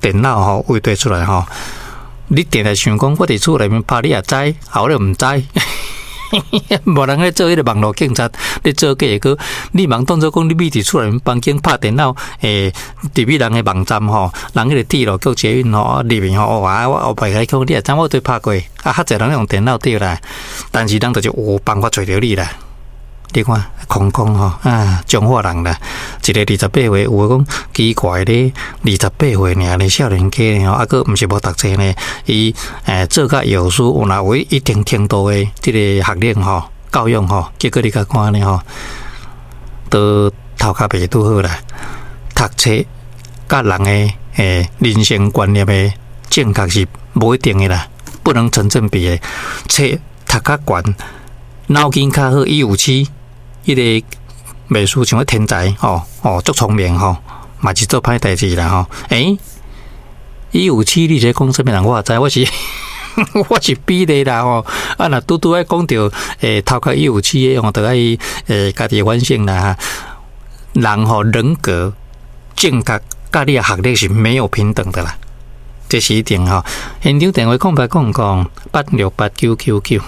電腦吼畫對出來吼，你定定想講，我佇厝內面拍你也知，後你毋知。無人咧做彼个網路警察，咧做假個，你茫當做講你覕佇厝內面房間拍電腦，入去人的網站吼，人彼個鐵路局捷運吼入面吼，哇，我後擺共你講，你也知我對拍過，啊，較濟人用電腦對啦，但是人就是有辦法揣著你啦。你看空空吼啊，彰化人啦，一个28歲，有的講奇怪咧，二十八歲爾咧，少年家吼，啊，閣毋是無讀冊呢，伊做甲藥師有若有一定程度的這個學歷吼、教養吼，結果你共看呢吼，都頭殼袂拄好啦，讀冊佮人的人生觀念的正確是無一定的啦，不能成正比的。冊讀較懸，腦筋較好，伊有鼠。彼個袂輸像個天才吼哦，足聰明吼，嘛是做歹代誌啦吼。欸，伊有鼠，你是講啥物人？我也知，我是比例啦吼。啊，若拄拄仔講著頭殼伊有鼠的吼，就愛家己反省啦。人吼人格正確，佮你的學歷是沒有平等的啦，這是一定吼。現場電話0800868999。